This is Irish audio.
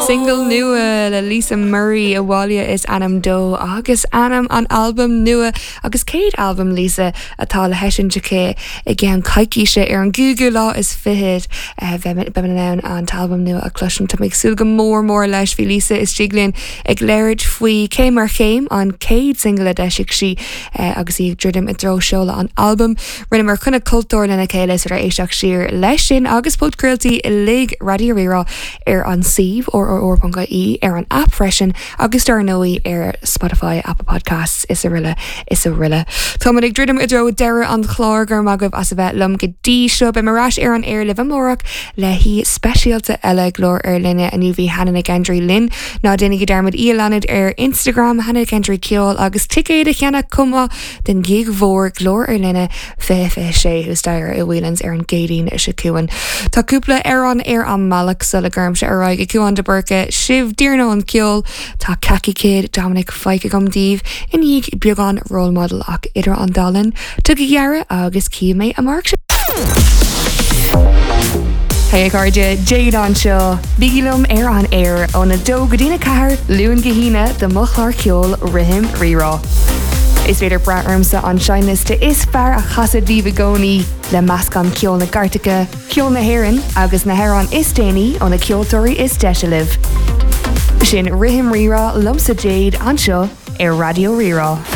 Single nua le Lisa Murray, Abhaile is ainm dó agus ainm an albaim nua agus céad albam Lisa atá le heisiúint aici i gceann coicíse ar an gcúigiú lá is fichead. Beimid in ann an t-albam nua a chloisint. Tá mé ag súil go mór mór leis. Bhí Lisa istigh linn ag labhairt faoi Céim ar Chéim, an chéad single a d'eisigh sí agus í ag druidim i dtreo seoladh an albaim. Rinneamar coinne cultúir lena chéile is féidir éisteacht siar leis sin agus podchraoltaí uilig Raidió Rí-Rá ar an suíomh rrr.ie, ar an aip freisin agus dar ndóigh ar Spotify, Apple Podcasts is araile is araile. Táimid ag druidim i dtreo deireadh an chláir, go raibh maith agaibh as a bheith liom go dtí seo. Beidh mé ar ais ar an aer libh amárach le haoi speisialta eile Glór ar Line. Inniu bhí Hannah Nic Aindrí linn. Ná déanaigí dearmad í a leanúint ar Instagram, Hannah Nic Aindrí Ceol agus ticéid a cheannach chomh maith don ghig mhór Glór ar Line 2026 thuas staighre i Whelan's ar an gCéadaoin seo chugainn. Tá cúpla amhrán ar an mbealach sula gcuirimse ar aghaidh ag Cúán de Búrca sibh d'iarnóin an ceol. Tá Khaki Kid, Dominic Fike agam daoibh i ndiaidh beagán Role Model ach idir an dá linn, tugaigí aire agus cífidh mé amárach sibh. Hey a chairde, Jade anseo. Bígí liom ar an aer óna 2 go dtína 4, Luan go hAoine do mo chlár ceoil Rithim Rí-Rá. Is féidir brath ormsa an seinnliosta is fearr a chasadh daoibh i gcónaí, le meascán ceol na gcairteacha, ceol na hÉireann agus na hamhráin is déanaí ó na ceoltóirí is deise libh. Sin Rithim Rí-Rá liomsa Jade anseo ar Raidió Rí-Rá.